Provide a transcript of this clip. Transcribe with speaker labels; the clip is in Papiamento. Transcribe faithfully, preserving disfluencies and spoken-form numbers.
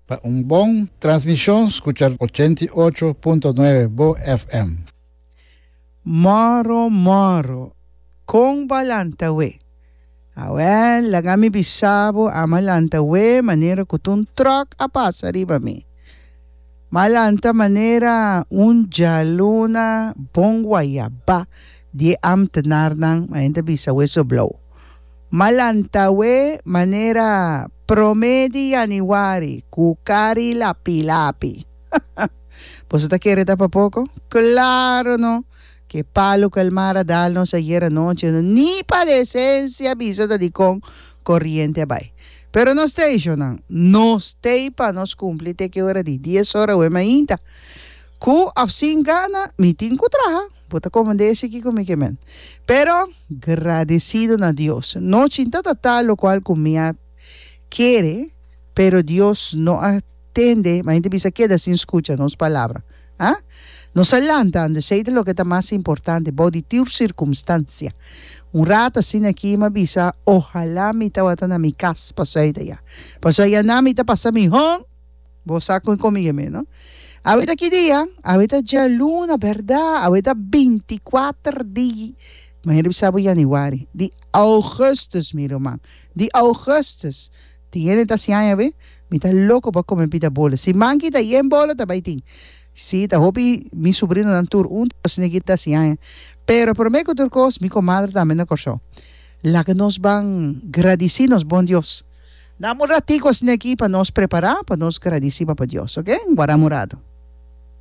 Speaker 1: Pa un bon transmishon, skucha ochenta i ocho punto nuebe Bo F M.
Speaker 2: Moro moro, kon bo a lanta we? Awel, laga mi bisa bo, ami a lanta we manera ku ta un tròk a pasa riba mi. M'a lanta manera un djaluna bon guayabá di e ámtenarnan, ma hende ta bisa weso blou. M'a lanta we manera promé di yanüari ku kar'i lapi lapi. Boso ta kere ta pa poko? Klaro no! Ke palu ku el mar a dal nos ayera nochi no ni pa desensia bisa ta dikon koriente a bai. Pero nos t'ei, shonnan, nos t'ei pa nos kumpli te ke ora di dies ora awe mainta. Ku òf sin gana, mi tin ku traha. Bo ta komand'é esei kiko mi ke men. Pero, gradesido na Dios, no chinta ta tal lokual ku mi a kere, pero Dios no a tende, ma hende bisa keda sin skucha nos palabra. A Nos a lanta, ando esei ta loke ta mas importante bou di tur sirkumstansia. Un rat asina aki m'a bisa, Ohalá mi tabata na mi kas pasobra ta ya. Pasobra ya na mi ta pasa mihó. Bo sa kon komi mi, no? Awe ta ki dia? Awe ta djaluna, bèrdat? Awe ta binti kuater di, manera bisa bo yanüari, di ougùstùs, mi ruman, di ougùstùs. Tin hende ta hasi aña awe? Mi ta loko pa kome pita bolo. Si manki ta yen bolo ta bai tin. Si, ta hopi mi subrinonan tur un ta asina ki ta hasi aña. Pero promé ku tur kos, mi komadre tambe na Kòrsou. Laga nos ban gradisí nos bon Dios. Dam un ratico asina aki pa nos prepara pa nos gradisi Papa Dios, ok? Guarda un rato.